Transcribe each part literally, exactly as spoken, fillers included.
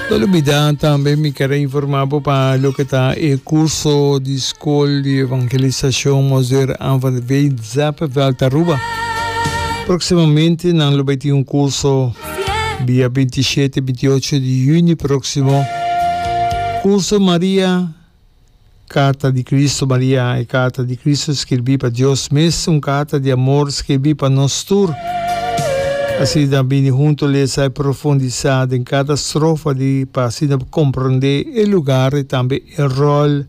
No lubida tambe mi kier a informa bo pa loke ta e curso di School di Evangelisacion Monseigneur Anne van der Veen Zeppeveld Aruba. Proximamente nan lo bay tin un curso dia binti shete, binti ocho di juni proximo. Curso Maria Carta di Cristo Maria, e carta di Cristo skirbi pa Dios mes, un carta di amor skirbi pa nos tur. Asina bini hunto lesa y profundisa den cada strofa di pa asina comprende e lugar y tambe e rol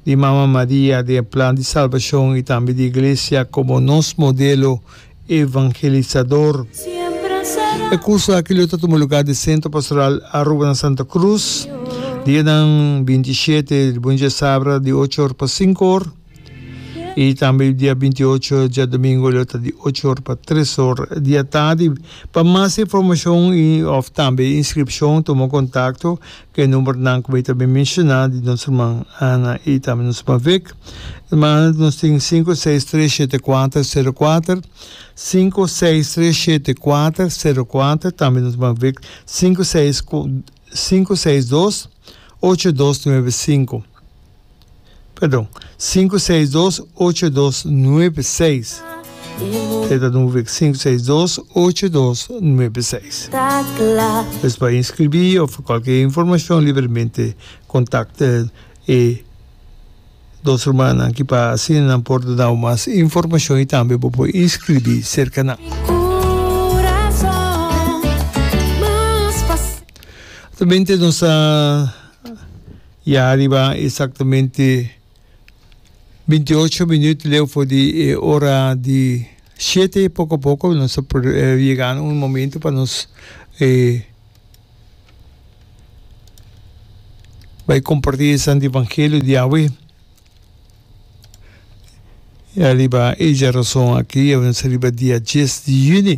di Mama Maria den e plan di salbacion y tambe di Iglesia como nos modelo evangelisador. E curso aki lo ta tuma lugar den Centro Pastoral Aruba na Santa Cruz, dianan binti i shete, di djasabra di ocho or pa sinku or y tambe dia binti i ocho, djadomingo, lo ta di ocho or pa tres or di atardi. Pa mas informacion y of tambe inscripcion, tuma contacto cu e numbernan cu mi ta menciona di nos ruman Ana y tambe nos ruman Vic. Ruman Ana nos tin sinku seis tres shete kuater sero kuater, sinku seis tres shete kuater sero kuater, tambe nos ruman Vic sinku seis sinku seis dos ocho dos nuebe sinku. Perdon, sinku seis dos ocho dos nuebe seis. E ta nueve sinku seis dos ocho dos nuebe seis. Pues pa inscribí of cualkier informacion libremente contact e dos rumannan aki pa asina nan por duna bo mas informacion y tambe bo por inscribí cerca nan. Actualmente nos ta ya ariba exactamente binti ocho minuut leu for di e ora di shete. Poco a poco nos ta yega na un momento pa nos bai comparti e Santo Evangelio di awe. Ariba e djarason aki, awe nos ta riba dia dies di juni.